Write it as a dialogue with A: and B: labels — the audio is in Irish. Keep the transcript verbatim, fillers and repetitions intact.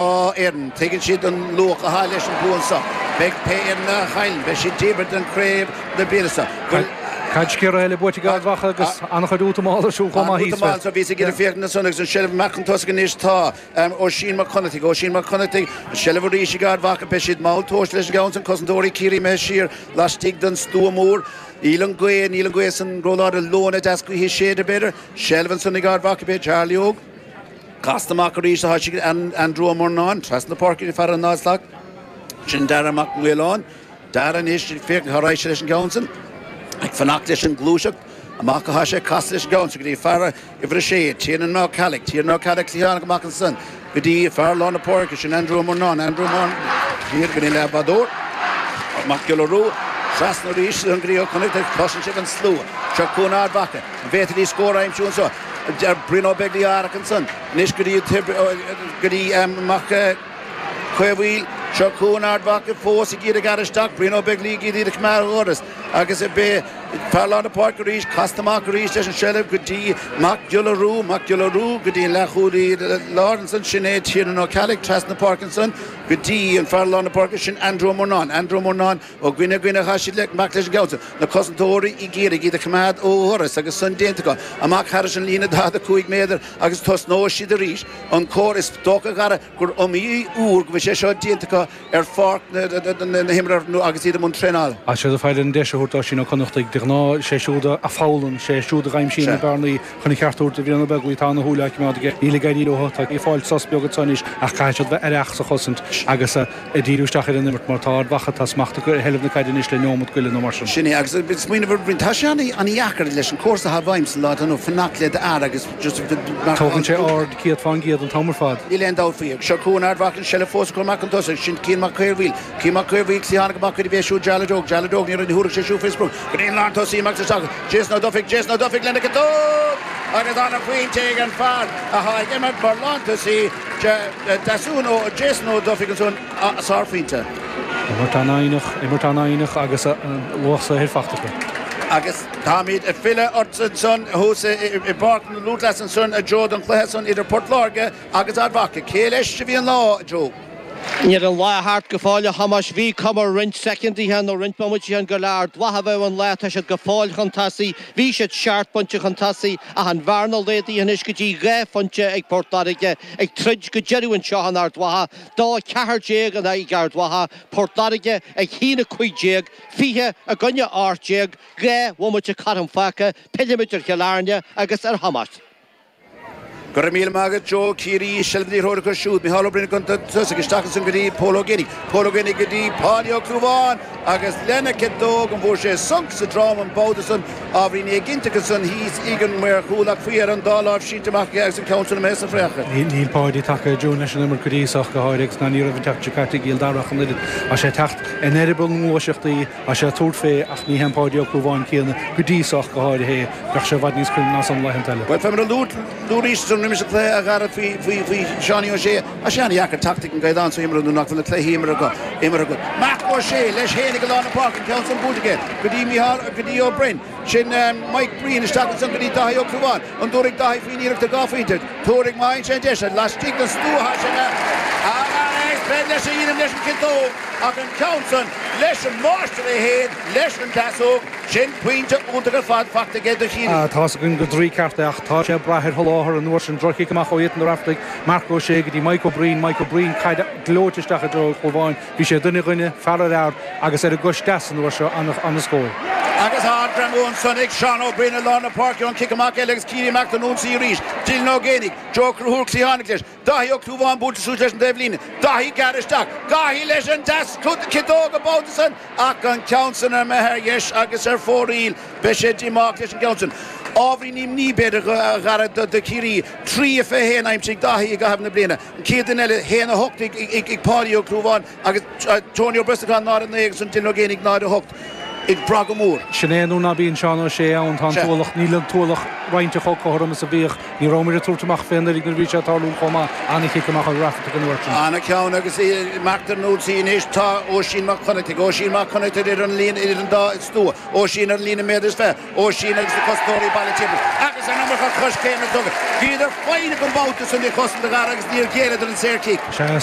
A: fhoireann, tuigeann siad an luach atá leis an bua seo. Beidh pé fhoireann a chailleann, beidh siad díbeartha den chraobh na bliana seo.
B: Caid sciorrtha eile buaite ag Ard Mhacha agus an-chuid útamáil ar siúl chomh maith thíos.
A: Útamáil so bhíos ag iarraidh féachaint ansan agus an seilbh amach chun tosaigh anois tá Oisín Mac Connachtaigh, Oisín Mac Connachtaigh, an seilbh arís ag Ard Mhacha, beidh siad mall tomhaiste leis an gceann san, cosantóirí Ciarraí imithe siar laistigh den stua mór. Níl an ghaoth, níl an ghaoth san róláidir, leoithne deas gaoithe ag séideadh b'fhéidir, seilbh ansan ag Ard Mhacha, beidh Charlie Óg. Casta amach arís atá sé ag Andrew Ó Murnáin, trasna na páirce ag fear an náid slat. Sin Dara Mac Maoláin. Dara anois, féach cá raghaidh sé leis an gceann san. Ag fanacht leis an ngluaiseacht. Amach atá sé, casta leis an gceann san go dtí fear uimhir a sé, Tiernan Ó Ceallaigh. Tiernan Ó Ceallaigh cliathánach amach ansan go dtí fear lár na páirce, sin Andrew Ó Murnáin. Andrew Ó Murnáin siar go dtí an leathbhádóir. Mac Giolla Rua. Trasna arís go dtí Ó Connachta. Cloiseann sibh an slua. Seo chugainn Ard Mhacha. An bhféadfaidís scór a aimsiú anseo? Brian Ó Beaglaoich á aireach ansan anois go dtí go dtí Mac Caomhaoil. Seo chugainn Ard Mhacha fós ag iarraidh gearradh isteach. Brian Ó Beaglaoich ag iarraidh iad a choimeád ó dhoras agus beidh fear lár na páirce arís casta amach arís leis an seilbh go dtí Mac Giolla Rua. Mac Giolla Rua go dtí an leathchúlaí láir ansan. Sin é Tiernan Ó Ceallaigh trasna na páirce ansan go dtí an fear lár na páirce sin Andrew Ó Murnáin. Andrew Ó Murnáin Ó dhuine go duine atá siad le amach leis an gceann san. Na cosantóirí ag iarraidh iad a choimeád ó dhoras agus san déanta acu. Amach thairis an líne daichead a cúig méadar agus tosnóidh siad arís. An cóir is dócha a Dhara gur iomaí uair go bhfuil sé seo déanta acu ar pháirc na himeartha nó agus iad i mbun traenála.
B: Tá siad ag fáil an deis a thabhairt d'Oisín Ó Connachtaigh. De ghnáth sé siúd a foghlaim, sé siúd a dh'aimsíonn na bearnaí chun an ceart a thabhairt do Bhrian Ó Beaglaoich. Tá ana shúil á coimeád aige. Níl ag éirí leo. Tá ag fáil sos beag anso anois ach caithfidh siad bheith aireach sa chosaint agus ag díriú isteach ar an imirt mar tá Ard Mhacha, tá smacht acu ar sheilbh na caide anois le neomat go leith nó mar sin.
A: Sin é, agus smaoineamh ar bhroinn, tá sé an-dheacair leis an cúrsa atá i bhfeidhm sa lá atá inniu fanacht le d'fhear agus just mar
B: Tógann sé aird céad fán gcéad an t-am ar fad.
A: Níl aon dabht faoi. Seo chugainn Ard Mhacha, an seilbh fós acu amach chun tosaigh, sin Cian Mac Caomhaoil, Cian Mac Caomhaoil, cliathánach amach chuid a bhí siúd Jarlath Óg, Jarlath Óg, ní raibh, ní thabharfadh sé siúd faoi sprioc, go dtí an lántosaí amach isteach, Jason Ó Dufaigh, Jason Ó Dufaigh lena chiotóg agus an-phointe ag an fear atá ag imirt mar lántosaí, Deasún Ó, Jason Ó Dufaigh ansan. Sárphointe.
B: Imirt an-fhoighneach, imirt an-fhoighneach agus luach saothair faighte acu.
A: Agus táimid ag filleadh ort ansan thuas i bPáirc na Lúthchleas ansan, a Joe, don chluiche san idir Port Láirge agus Ard Mhacha. Cé leis a bhí an lá, a Joe?
C: Níl an lá thart go fóill, a Thomáis. Bhí cuma roinnt soicindí nó roinnt bomaití gur le Ard Mhacha a bheadh an lá. Tá siad go fóill chun tosaigh. Bhí siad seacht bpointe chun tosaigh ach an bhearna laghdaithe anois go dtí dhá phointe ag Port Láirge ag troid go deireadh anseo in Ard Mhacha. Dó a ceathair déag in aghaidh Ard Mhacha, Port Láirge ag haon a cúig déag, fiche i gcoinne ocht déag, dhá bhomaite cothrom fágtha, pillfimid ar Chill Airne agus ar Thomás.
A: Go raibh míle maith agat Joe. Ciarraí, seilbh na liathróide acu siúd. Micheál Ó Broin chun tosaigh, isteach ansan go dtí Pól Ó Géibheannaigh. Pól Ó Géibheannaigh go dtí Páidí Ó Clúmháin agus lena chiotóg an bhfuair sé sonc sa drom an babhta san. Ábhairín éiginnteach ansan thíos ag an maor chúil ach faoi dheireadh an dá láimh sínte amach aige agus an ceann san imithe sna fraiceacha.
B: Níl Páidí tagtha i dtiúin leis an imirt go dtí so ach go háirithe agus ná ní raibh an tseachtain seo caite i gCill Dara ach an oiread. Tá sé ag teacht in eireaball na ngluaiseachtaí, tá sé ag tabhairt fé ach ní hé an Páidí Ó Clúmháin céanna go dtí so ach go háirithe é. Bheadh sé i bhfad níos cruinne ná san laethanta eile.
A: Bhuel, fé mar a luaigh tú arís ansan roimis an cluiche a Dhara faoi faoi faoi Seánie Ó Sé, tá sé an-dheacair teacht ag an gcaighdeán so imeartha nuair nach bhfuil na cluichí imeartha acu imeartha agat. Marc Ó Sé leis féin ag lár na páirce, an ceann san buailte aige go dtí Micheál, go dtí Ó Broin. Sin Mike Breen isteach ansan go dtí Dáithí Ó Clúmháin. An dtabharfaidh Dáithí faoin iarracht ar dhá phointe? Tabharfaidh má fhaigheann sé an deis. Laistigh den stua atá sé agus beidh leis a dhéanamh leis an chiotóg ach an ceann san leis an máistir é féin, leis an deasóg. Sin pointe iontach ar fad faighte aige do Chiarraí.
B: Tá's againn gur draoi ceart é ach tá sé ag brath ar sholáthar an uair sin. Droch-chic amach ó Ethan Ó Raifeartaigh, Marc Ó Sé go dtí Mike Ó Breen, Mike Ó Breen caid gleoite isteach i dtreo Chlúmháin. Bhí sé duine ar dhuine, fear ar fhear agus ar an gcois deas an uair seo, an-scór.
A: Agus ard-ghreamú ansan ag Seán Ó Broin i lár na páirce ón chic amach eile agus Ciarraí amach don ionsaí arís. Dylan Ó Géibheannaigh, Joe Conchúir cliathánach leis. Dáithí Ó Clúmháin buailte suas leis an dtaobhlíne. Dáithí gearrtha isteach. Dáithí leis an deas ciotóg an babhta san ach an ceann san imithe ar dheis agus ar fóraoil. Beidh sé díomách leis an gceann san. Ábhairín imní b'fhéidir a Dhara do Chiarraí. Trí a fiche haon aimsithe ag Dáithí i gcaitheamh na bliana. An chéad duine eile, haon a hocht ag Páidí Ó Clúmháin agus Tony Ó Brosnacháin náid a naoi agus an Dylan Ó Géibheannaigh náid a hocht. ag brath go mór.
B: Sin é nuair ná bíonn Seán Ó Sé ann tá an t-ualach, níl an t-ualach roinnte chomh cothrom is a bhíodh. Ní rabhamar ag tabhairt amach fén uilig nuair a bhí sé ag tarlú chomh maith. Ana-chic amach ó Rafferty an uair sin.
A: Ana-cheann agus marc ar an ionsaí anois tá Oisín Mac Connachtaigh, Oisín Mac Connachtaigh idir an líne, idir an dá stua, Oisín ar an líne méadar is fiche, Oisín agus na cosantóirí bailithe timpeall agus an iomarca coiscéime tugtha. Bhíodar foighneach an babhta san de chosaint a Dhara agus níor ghéilleadar an saorchic.
B: Sea,